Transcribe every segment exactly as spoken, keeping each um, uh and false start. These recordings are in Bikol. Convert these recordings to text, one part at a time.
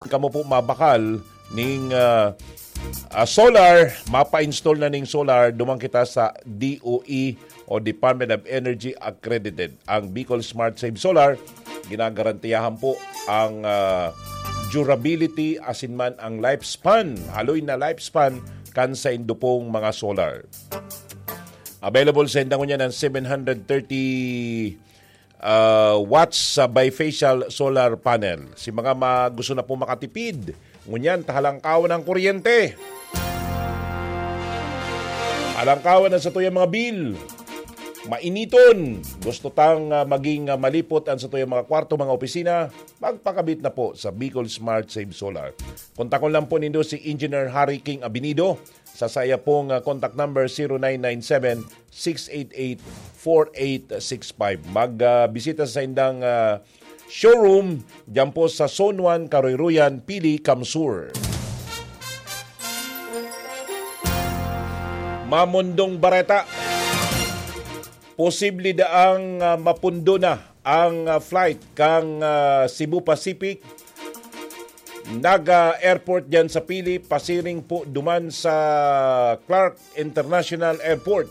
kamo po mabakal ning, ah, ah, solar, mapa-install na ning solar, duman kita sa D O E o Department of Energy accredited. Ang Bicol Smart Save Solar, ginagarantiyahan po ang, ah, durability asin man ang lifespan, haloy na lifespan kan saindo pong mga solar. Available sa inda ngunyan ang seven hundred thirty, ah, watts sa bifacial solar panel. Si mga ma-, gusto na po makatipid, ngunyan, tahalangkawan ang kuryente. Halangkawan ang satuyang mga bill. Mainiton. Gusto tang, ah, maging, ah, malipot ang satuyang mga kwarto, mga opisina. Magpakabit na po sa Bicol Smart Save Solar. Kontakon lang po nindo si Engineer Harry King Abinido sa saya pong, ah, contact number zero nine nine seven, six eight eight, four eight six five. Mag, ah, bisita sa indang, ah, showroom dyan po sa Zone one, Karoyroyan, Pili, Kamsur. Mamundong Bareta. Posible daang, ah, mapundo na ang, ah, flight kan, ah, Cebu Pacific Naga Airport diyan sa Pili, pasiring po duman sa Clark International Airport.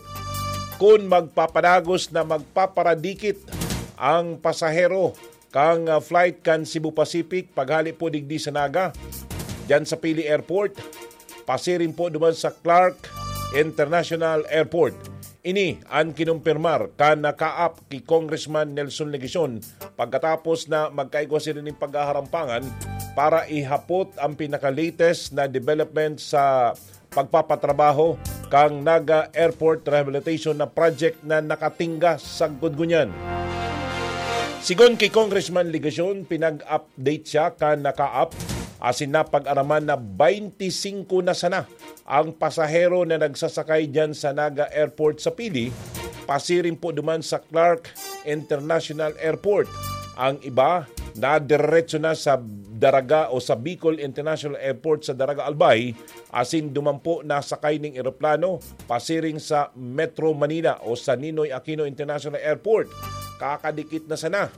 Kun magpapadagos na magpaparadikit ang pasahero kan, ah, flight kan Cebu Pacific paghali po digdi sa Naga, diyan sa Pili Airport, pasiring po duman sa Clark International Airport. Ini an kinumpirmar kan nakaap ki Congressman Nelson Legacion pagkatapos na magkaigwa sila nin paghaharampangan para ihapot ang pinaka-latest na development sa pagpapatrabaho kang Naga Airport Rehabilitation na project na nakatingga sagkod ngunyan. Sigon ki Congressman Legacion, pinag-update siya kan nakaap asin napag-araman na twenty-five na sana ang pasahero na nagsasakay diyan sa Naga Airport sa Pili, pasiring po duman sa Clark International Airport. Ang iba, nadiretso na sa Daraga o sa Bicol International Airport sa Daraga Albay, asin duman po nasakay ning eroplano pasiring sa Metro Manila o sa Ninoy Aquino International Airport. Kakadikit na sana.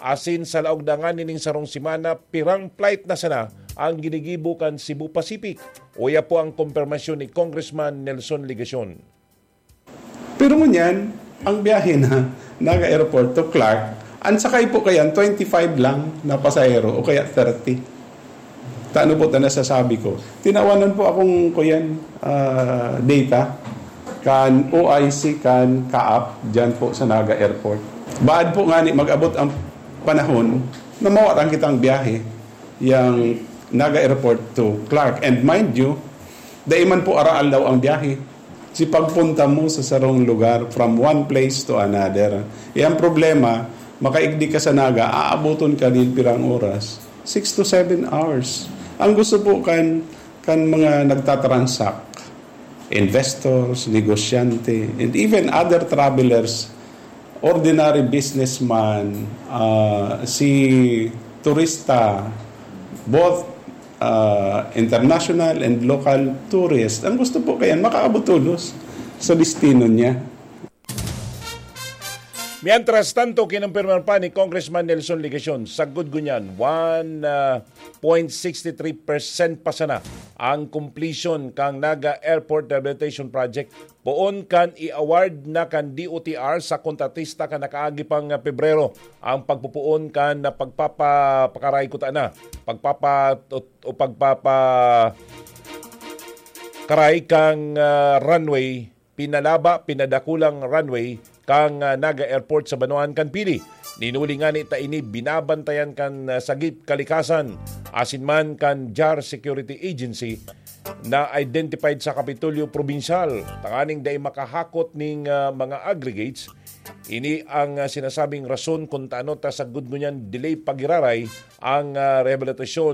Asin sa laog na ngani ning sarong semana, pirang flight na sana ang ginigibo kan Cebu Pacific. Uya po ang kumpirmasyon ni Congressman Nelson Legacion. Pero ngunyan, ang biyahe na Naga Airport to Clark, ang sakay po kayan, twenty-five lang na pasahero o kaya thirty. Tano po ta nasasabi ko. Tinawanan po akong, kuyan, ah, data kan O I C, kan kaap, dyan po sa Naga Airport. Baad po ngani mag-abot ang panahon na mawaran kitang biyahe, yang Naga Airport to Clark. And mind you, dai man po araal daw ang biyahe. Si pagpunta mo sa sarong lugar from one place to another. E ang problema, makaigdi ka sa Naga, aaboton ka nin pirang oras? Six to seven hours. Ang gusto po kan, kan mga nagtatransact, investors, negosyante, and even other travelers, ordinary businessman, ah, si turista, both, ah, international and local tourist, ang gusto po kayan, makaabot tolos sa destino niya. Mientras tanto, kinumpirmar pa ni Congressman Nelson Legacion, sagkod ngunyan, one point six three percent pa sana ang completion kang Naga Airport Rehabilitation Project. Poon kan i-award na kan D O T R sa kontratista kan nakaagi pang Pebrero ang pagpupoon kan pagpapapakaray kuta na, pagpapa-, o pagpapa-, karay kang, ah, runway, pinalaba, pinadakulang runway kang, ah, Naga Airport sa banwaan kan Pili. Ninuli ngani ta ini binabantayan kan, ah, Sagip Kalikasan asin man kan JAR Security Agency na identified sa Kapitolyo Probinsyal, tanganing dai makahakot ning, ah, mga aggregates. Ini ang, ah, sinasabing rason kun taano ta sagkod ngunyan delay pagiraray ang, ah, rehabilitasyon